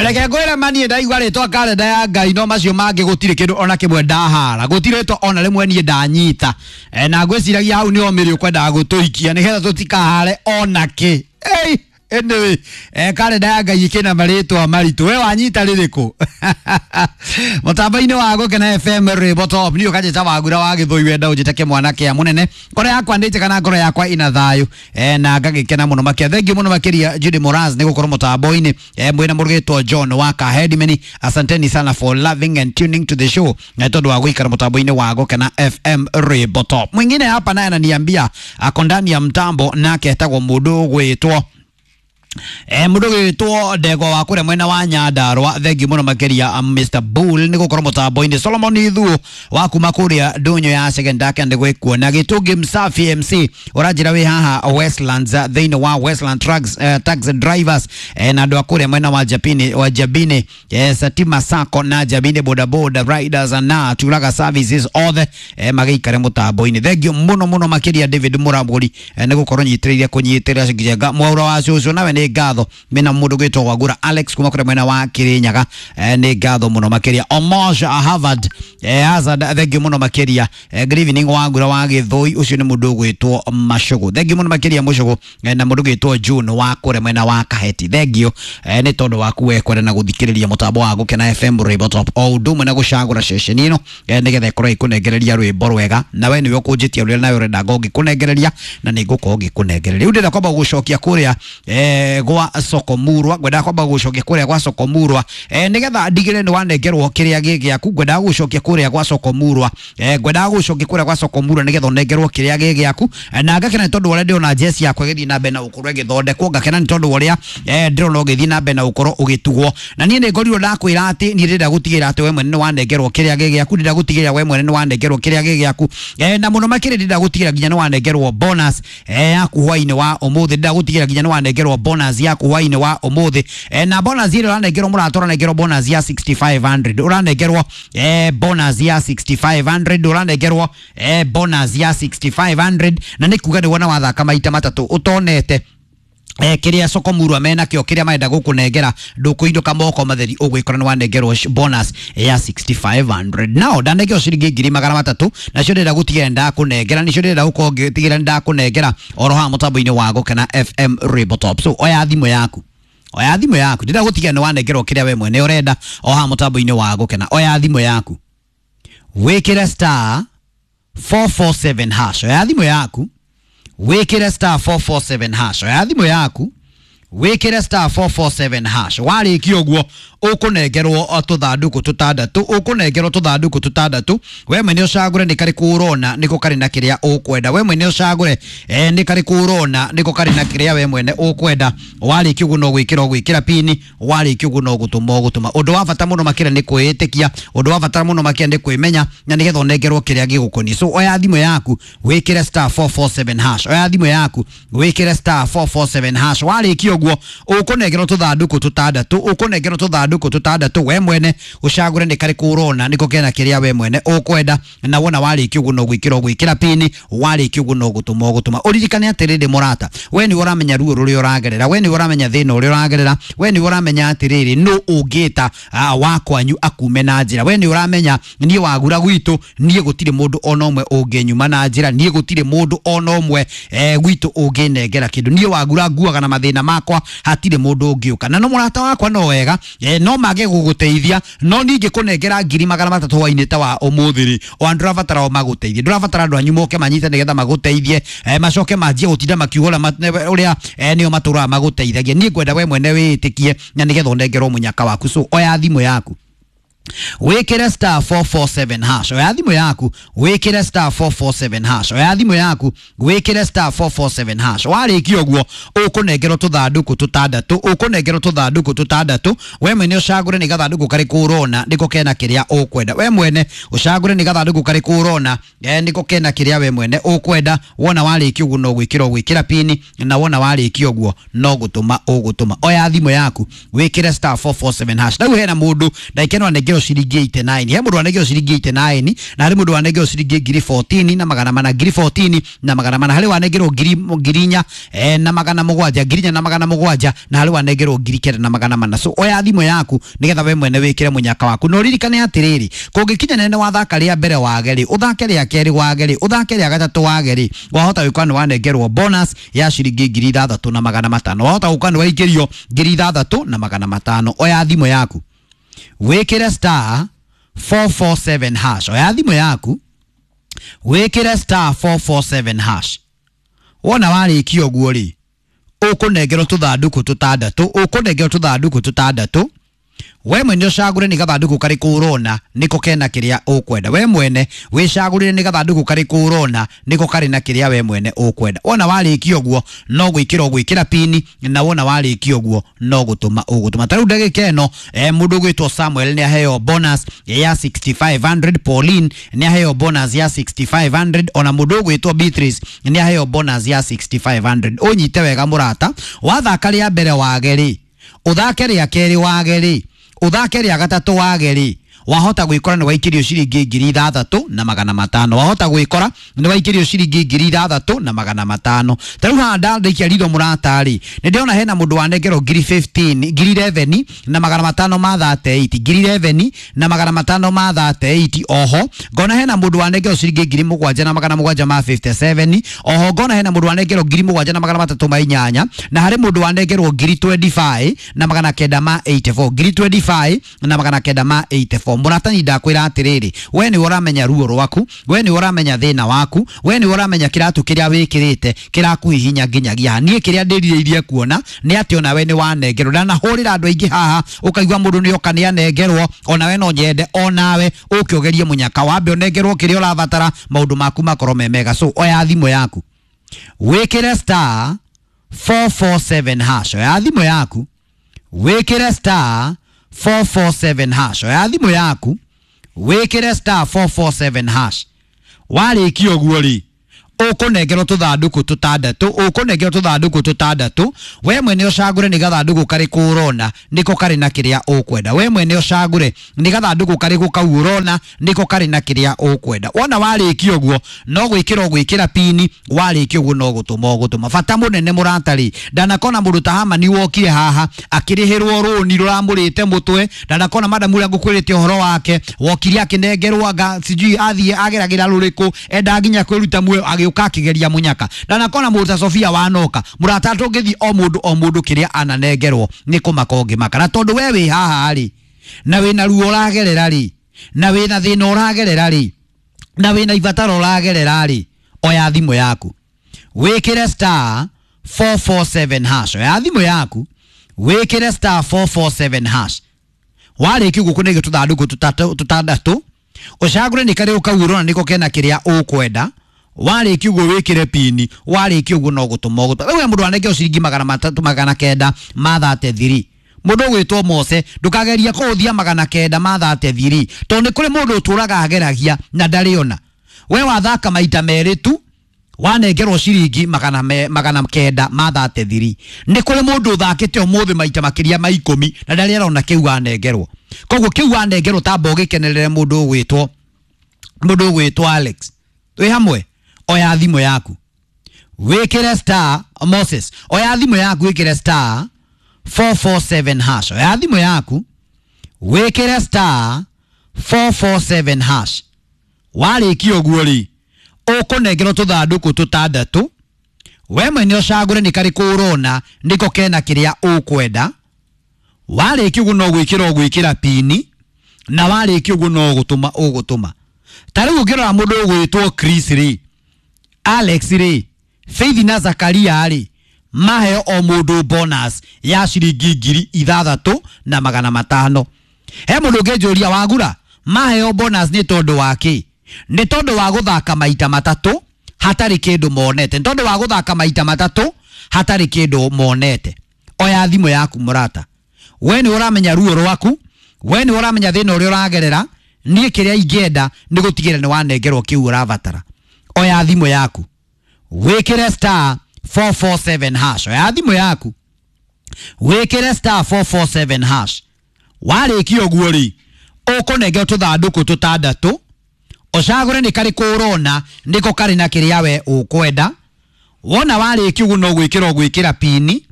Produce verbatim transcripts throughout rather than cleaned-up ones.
Reke ngwĩre mani ndaigua rĩtwa karenda ya Ngai no macio mangĩ gũtirĩ kĩndũ ona kĩmwe ndahara, gũtirĩ rĩtwa ona rĩmwe niĩ ndanyita. E, na ngwĩciragia hau nĩho mĩrĩ ũkwendaga gũtũikia nĩgetha tũtikahare ona kĩ. Ei, anyway, eh, karenda ya Ngai ĩkĩna marĩtwa maritũ, we wanyita rĩrĩkũ? Mũtambo-inĩ wa Gũkena F M Rwĩmbo Top niĩ ũkanjĩta Wagura wa Gĩthũi, wenda ũnjĩte kĩmwana kĩa mũnene. Ngoro yakwa nĩ njega na ngoro yakwa ina thayũ, eh, na ngagĩkena mũno makĩria. Thengiũ mũno makĩria Judy Moraz nĩ gũkorwo mũtambo-inĩ, eh, mwĩna mũrũgĩtwo John wa Kahedimeni. Asanteni sana for loving and tuning to the show, na tondũ wa gũikara mũtambo-inĩ wa Gũkena F M Rwĩmbo Top. Mwingine hapa naye ananiambia ako ndani ya mtambo, nake etagwo mũndũ ũgwĩtwo Eh, mundu gwitwo ndegwa wa kuria mwena wa Nyandarua. Thengiũ mũno makĩria Mister Bull nĩ gũkorwo mũtambo-inĩ. Solomon Ithuo wa kuma kũrĩa ndũnyũ ya Secondary nĩ gwĩkuona. Gĩtũngĩ Msafi M C ũranjĩra wĩ haha Westlands thĩinĩ wa Westland Trucks, uh, taxi drivers, eh, na andũ a kũrĩa mwena wa Japini, wa Jabini, eh, Satima Sacco na Jabini boda boda riders na Turaga services othe, eh, magĩikare mũtambo-inĩ. Thengiũ mũno mũno makĩria David Mũragũri, eh, nĩ gũkorwo nyitĩrĩire kũnyitĩrĩra Njenga Mwaura wa cũcũ, nawe nĩ ngatho. Mena mundu gwitwo Wagura Alex kuma kure mwena wa Kirinyaga, eh, nĩ ngatho muno makiria. Omosh Harvard, eh, Hazard, thengiũ muno makiria. Eh, good evening Wagura wa Gĩthũi, ucio nĩ mundu gwitwo Macugu, thengiũ muno makiria Mucugu, eh, na mundu gwitwo June wa kure mwena wa Kaheti, thengiũ, eh, nĩ tondu waku we kwenda na guthikiriria mutambo wa Gũkena F M Rwĩmbo Top o undu umwe na gucagura ceceni ino, eh, nigetha ikorwo ikunengereria rwĩmbo rwega, na we niwe ukunjitia rũrĩa nawe urenda ngũngĩkũnengereria na nĩ ngũkorwo ngĩkũnengereria. Rĩu ndĩrenda kwamba gũcokia kũrĩa, eh, gwa Sokomurwa, ngwendaga kwamba gũcokia kũrĩa gwa Sokomurwa, eh, nigetha ndigĩrĩre nĩ wanengerwo kĩrĩa gĩ gĩaku. Ngwendaga gũcokia kũrĩa gwa Sokomurwa, eh, ngwendaga gũcokia kũrĩa gwa Sokomurwa nigetha ũnengerwo kĩrĩa gĩ gĩaku. Eh, na ngakena nĩ tondũ ũrĩa ndĩrona jesi yakwa ĩgĩthiĩ na mbere na gũkorwo ĩgĩthondekwo, ngakena nĩ tondũ ũrĩa, eh, ndĩrona ũgĩthiĩ na mbere na gũkorwo ũgĩtugwo. Na niĩ nĩ ngorirwo ndakwĩra atĩ niĩ ndĩrenda gũtigĩrĩra atĩ we mwene nĩ wanengerwo kĩrĩa gĩ gĩaku, ndĩrenda gũtigĩrĩra we mwene nĩ wanengerwo kĩrĩa gĩ gĩaku, eh, na mũno makĩria ndĩrenda gũtigĩrĩra nginya nĩ wanengerwo bonus, eh, yaku hwainĩ wa ũmũthĩ, ndĩrenda gũtigĩrĩra nginya nĩ wanengerwo bonus yaku hwainĩ wa ũmũthĩ, eh, na bonus ĩrĩa ũranengerwo mũrata, ũranengerwo bonus ya sixty five hundred, ũranengerwo, eh, bonus ya sixty five hundred, ũranengerwo, eh, bonus ya sixty five hundred, na nĩ kuga nĩ wona wathaka maita matatũ ũtonete, eh, kiria Sokomurwa mena kio kiria marenda gukunengera ndukuinduka moko matheri ugwikora ni wanengerwo bonus ya sixty five hundred. Nao ndanengerwo ciringi ngiri magana matatu nacio ndĩrenda gũtigĩrĩra ndakunengera, nicio ndĩrenda gũkorwo ngĩtigĩrĩra ndakunengera oro haha mũtambo-inĩ wa Gũkena F M Rwĩmbo Top. So oya thimũ yaku, oya thimũ yaku, ndĩrenda gũtigĩrĩra nĩ wanengerwo kĩrĩa we mwene ũrenda o haha mũtambo-inĩ wa Gũkena. Oya thimũ yaku wĩkĩre star four four seven hash, oya thimũ yaku wikire star four four seven hash, oya thimũ yaku wikire star four four seven hash. Warĩkia ũguo ũkũnengerwo tũthandũkũ tũtandatũ, ũkũnengerwo tũthandũkũ tũtandatũ. We mwene ũcagũre nĩ karĩkũ ũrona nĩko karĩ na kĩrĩa ũkwenda, we mwene ũcagũre, eh, nĩ karĩkũ ũrona nĩko karĩ na kĩrĩa we mwene ũkwenda. Warĩkia ũguo no gwĩkĩra ũgwĩkĩra pini, warĩkia ũguo no gũtũma ũgũtũma. Ũndũ wa bata mũno makĩria nĩ kwĩĩtĩkia, ũndũ wa bata mũno makĩria nĩ kwĩmenya, na nĩgetha ũnengerwo kĩrĩa gĩgũkoniĩ. So oya thimũ yaku wĩkĩre star four four seven hash, oya thimũ yaku wĩkĩre star four four seven hash. Warĩkia ũguo ũkũnengerwo tũthandũkũ tũtandatũ, ũkũnengerwo tũthandũkũ tũtandatũ, we mwene ũcagũre nĩ karĩkũ ũrona nĩko kena kĩrĩa we mwene ũkwenda, na wona warĩkia ũguo no gwĩkĩra ũgwĩkĩra pini, warĩkia ũguo no gũtũma ũgũtũma. Ũririkane atĩrĩrĩ mũrata, we nĩwe ũramenya ruo rũrĩa ũragerera, we nĩwe ũramenya thĩna ũrĩa ũragerera, we nĩwe ũramenya atĩrĩrĩ nũ ũngĩta, ah, wa kwanyu akume na njĩra, we nĩwe ũramenya niĩ Wagura gwitũ niĩ gũtirĩ mũndũ ona ũmwe ũngĩnyuma na njĩra, niĩ gũtirĩ mũndũ ona ũmwe, eh, gwitũ ũngĩnengera kĩndũ, niĩ Wagura nguaga na mathĩna makwa, hatirĩ mũndũ ũngĩũka. Na no mũrata wakwa no wega, eh, no mage gũgũteithia, no ningĩ kũnengera ngiri magana matatũ hwainĩ ta wa ũmũthĩ rĩ, o ndũrabatara o magũteithie, ndũrabatara andũ anyu moke manyite nĩgetha magũteithie, eh, macoke manjie gũtinda makiuga ũrĩa, eh, nĩo matũraga magũteithagia. Niĩ ngwenda we mwene wĩĩtĩkie na nĩgetha ũnengerwo mũnyaka waku. So oya thimũ yaku wikire star four four seven hash, oya thimũ yaku wikire star four four seven hash, oya thimũ yaku wikire star four four seven hash. Warĩkia ũguo ũkũnengerwo tũthandũkũ tũtandatũ, ũkũnengerwo tũthandũkũ tũtandatũ. We mwene ũcagũre nĩ gathandũkũ karĩkũ ũrona nĩko kena kĩrĩa ũkwenda, we mwene ũcagũre nĩ gathandũkũ karĩkũ ũrona, eh, nĩko kena kĩrĩa we mwene ũkwenda. Wona warĩkia ũguo no gwĩkĩra ũgwĩkĩra pini, na wona warĩkia ũguo no gũtũma ũgũtũma. Oya thimũ yaku wikire star four four seven hash. Rĩu hena mũndũ ndaikeno anengerwo wanengerwo ciringi eighty-nine, he mũndũ wanengerwo ciringi eighty-nine, na harĩ mũndũ wanengerwo ciringi ngiri fourteen na magana mana, ngiri fourteen na magana mana, harĩ wanengerwo ngiri ngiri inya eh, na magana mũgwanja, ngiri inya na magana mũgwanja, na harĩ wanengerwo ngiri kenda na magana mana. So oya thimũ yaku nigetha we mwene wikire munyaka waku. No ririkane atiriri, kungikinya nene wathaka ria mbere wage ri, uthake ria keri wage ri, uthake ria gatatu wage ri, wahota gwikora ni wanengerwo bonus ya ciringi ngiri ithathatu na magana matano, wahota gwikora ni waikirio ngiri ithathatu na magana matano. Oya thimũ yaku wikire star four four seven hash. Oya thimũ yaku wikire star four four seven hash. Wona warĩkia ũguo rĩ, ũkũnengerwo tũthandũkũ tũtandatũ, ũkũnengerwo tũthandũkũ tũtandatũ. We mwene ũcagũre nĩ gathandũkũ karĩkũ ũrona nĩko kena kĩrĩa ũkwenda. We mwene wĩcagũrĩre nĩ gathandũkũ karĩkũ ũrona nĩko karĩ na kĩrĩa we mwene ũkwenda. Wona warĩkia ũguo no gwĩkĩra ũgwĩkĩra pini, na wona warĩkia ũguo no gũtũma ũgũtũma. Ta rĩu ndagĩka ĩno eh, mũndũ ũgwĩtwo Samuel nĩ aheo bonus ya sixty-five hundred, Pauline nĩ aheo bonus ya sixty-five hundred, ona mũndũ ũgwĩtwo Beatrice nĩ aheo bonus ya sixty-five hundred. Ũnyite wega mũrata, wathaka rĩa mbere wage rĩ, ũthake rĩa kerĩ wage rĩ, uthake rĩa gatatũ wage rĩ, wahota gwikora ni waikirio ciringi ngiri ithathatu na magana matano, wahota gwikora ni waikirio ciringi ngiri ithathatu na magana matano. Ta riu haha ndandĩkia ritho mũrata rĩ, nĩ ndĩrona hena mũndũ wanengerwo ngiri fifteen, ngiri eleven na magana matano ma thirty-eight, ngiri eleven na magana matano ma thirty-eight. Oho ngona hena mũndũ wanengerwo ciringi ngiri mũgwanja na magana mũgwanja ma fifty-seven. Oho ngona hena mũndũ wanengerwo ngiri mũgwanja na magana matatũ ma inyanya, na harĩ mũndũ wanengerwo ngiri twenty-five na magana kenda ma eighty-four, ngiri twenty-five na magana kenda ma eighty-four. Mũratani ndakwĩra atĩrĩrĩ, we nĩwe ũramenya ruo rwaku, we nĩwe ũramenya thĩna waku, we nĩwe ũramenya kĩratũ kĩrĩa wĩkĩrĩte kĩrakũhihinya nginyagia haha. Niĩ kĩrĩa ndĩrirĩirie kuona nĩ atĩ onawe nĩ wanengerwo. Ndanahũrĩra andũ aingĩ haha ũkaigua mũndũ nĩ oka nĩ anengerwo, onawe no nyende onawe ũke ũgerie mũnyaka, wambe ũnengerwo kĩrĩa ũrabatara, maũndũ maku makorwo me mega. So oya thimũ yaku wĩkĩre star four four seven hash. Oya thimũ yaku wĩkĩre star four four seven hash. Oya thimũ yaku wĩkĩre star four four seven hash. Warĩkia ũguo rĩ, ũkũnengerwo tũthandũkũ tũtandatũ, ũkũnengerwo tũthandũkũ tũtandatũ. We mwene ũcagũre nĩ gathandũkũ karĩkũ ũrona nĩko karĩ na kĩrĩa ũkwenda. We mwene ũcagũre nĩ gathandũkũ karĩkũ kau ũrona nĩko karĩ na kĩrĩa ũkwenda. Wona warĩkia ũguo no gwĩkĩra ũgwĩkĩra pini, warĩkia ũguo no gũtũma ũgũtũma. Bata mũnene mũrata rĩ, ndanakona mũndũ ta Hamani wokire haha akĩrĩhĩrwo rũni rũramũrĩte mũtwe, ndanakona madamu ũrĩa ngũkwĩrĩte ũhoro wake wokire akĩnengerwo anga sijui athiĩ ageragĩra rũrĩkũ, enda nginya kwĩruta muoyo agĩũka akigeria munyaka. Ndanakona mũndũ ta Sofia wanoka mũrata, tũngĩthiĩ o mũndũ o mũndũ kĩrĩa ananengerwo nĩ kũmaka ũngĩmaka. Na tondũ we wĩ haha rĩ, na wĩna ruo ũragerera rĩ, na wĩna thĩna ũragerera rĩ, na wĩna ibataro ũragerera rĩ, oya thimũ yaku wĩkĩre star four four seven hash. Oya thimũ yaku wĩkĩre star four four seven hash. Warĩkia ũguo kũnengwo tũthandũkũ tũtandatũ, ũcagũre nĩ karĩkũ kau ũrona nĩko kena kĩrĩa ũkwenda. Warĩkia ũguo wĩkĩre pini, warĩkia ũguo no gũtũma ũgũtũma. Rĩu he mũndũ wanengerwo ciringi magana matatũ magana kenda ma thirty-three. Mũndũ ũgwĩtwo Mose, ndũkageria kũhũthia magana kenda ma thirty-three, tondũ nĩ kũrĩ mũndũ ũtũraga ageragia na ndarĩ ona. We wathaka maita merĩ tu wanengerwo ciringi magana me, magana kenda ma thirty-three. Nĩ kũrĩ mũndũ ũthakĩte ũmũthĩ maita makĩria ma ikũmi na ndarĩ arona kĩu wanengerwo. Koguo kĩu wanengerwo tamba ũgĩkenerere mũndũ ũgwĩtwo mũndũ ũgwĩtwo Alex. Twĩ hamwe? Oya thimũ yaku wĩkĩre star Moses, oya thimũ yaku wĩkĩre star four four seven hash. Oya thimũ yaku wĩkĩre star four four seven hash. Warĩkia ũguo rĩ, ũkũnengerwo tũthandũkũ tũtandatũ, we mwene ũcagũre nĩ karĩkũ ũrona nĩko kena kĩrĩa ũkwenda. Warĩkia ũguo no gwĩkĩra ũgwĩkĩra pini, na warĩkia ũguo no gũtũma ũgũtũma. Ta rĩu ũngĩrora mũndũ ũgwĩtwo Chris rĩ, Alex rĩ, Faith na Zakaria rĩ, maheo o mũndũ bonus ya ciringi ngiri ithathatũ na magana matano. He mũndũ ũngĩnjũria wagura, maheo bonus nĩ tondũ wa kĩ? Nĩ tondũ wa gũthaka maita matatũ hatarĩ kĩndũ monete. Nĩ tondũ wa gũthaka maita matatũ hatarĩ kĩndũ monete. Oya thimũ yaku mũrata, we nĩ ũramenya ruo rwaku, we nĩ ũramenya thĩna ũrĩa ũragerera. Niĩ kĩrĩa ingĩenda nĩ gũtigĩrĩra nĩ wanengerwo kĩu ũrabatara. Oya thimũ yaku wĩkĩre star four four seven hash. Oya thimũ yaku wĩkĩre star four four seven hash. Warĩkia ũguo rĩ, Ũkũnengera tũthandũkũ tũtandatũ, ũcagũre nĩ karĩkũ ũrona nĩko karĩ na kĩrĩa we ũkwenda. Wona warĩkia ũguo no gwĩkĩra ũgwĩkĩra pini,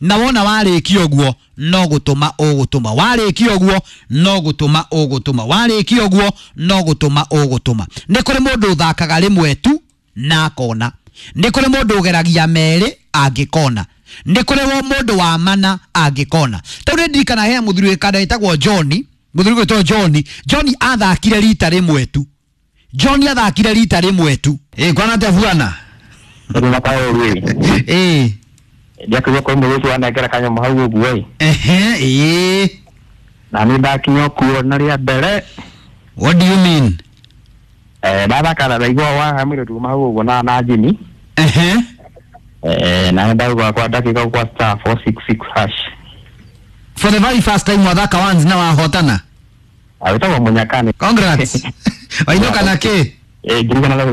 na wona warĩkia ũguo no gũtũma ũgũtũma, warĩkia ũguo no gũtũma ũgũtũma, warĩkia ũguo no gũtũma ũgũtũma. Nĩ kũrĩ mũndũ ũthakaga rĩmwe tu na akona, nĩ kũrĩ mũndũ ũgeragia merĩ angĩkona, nĩ kũrĩ wo mũndũ wa mana angĩkona. Tau nĩ ndirikana he mũthuri wĩkanda wĩtagwo John, mũthuri gwĩtwo John. John athakire rita rĩmwe tu. John athakire rita rĩmwe tu. Ĩ kwana atĩa bwana? Rä makaå Ĩ ndiakĩgua kwĩ mũgĩtu wanengera kanyamũ hau ũguo ĩ. Ehe, ĩ. Na nĩ ndakinya kuo na rĩa mbere. What do you mean? Eh, ndathaka na ndaigua wa mũirĩtu kuma hau ũguo na na njini. Ehe. Eh, na ndaigua kwa ndakĩka kwa star four six six hash. For the very first time wathaka once na wahotana. Awĩtagwo Mũnyakani. Congrats. Wainũka na kĩ? Eh, ngiri igana rĩa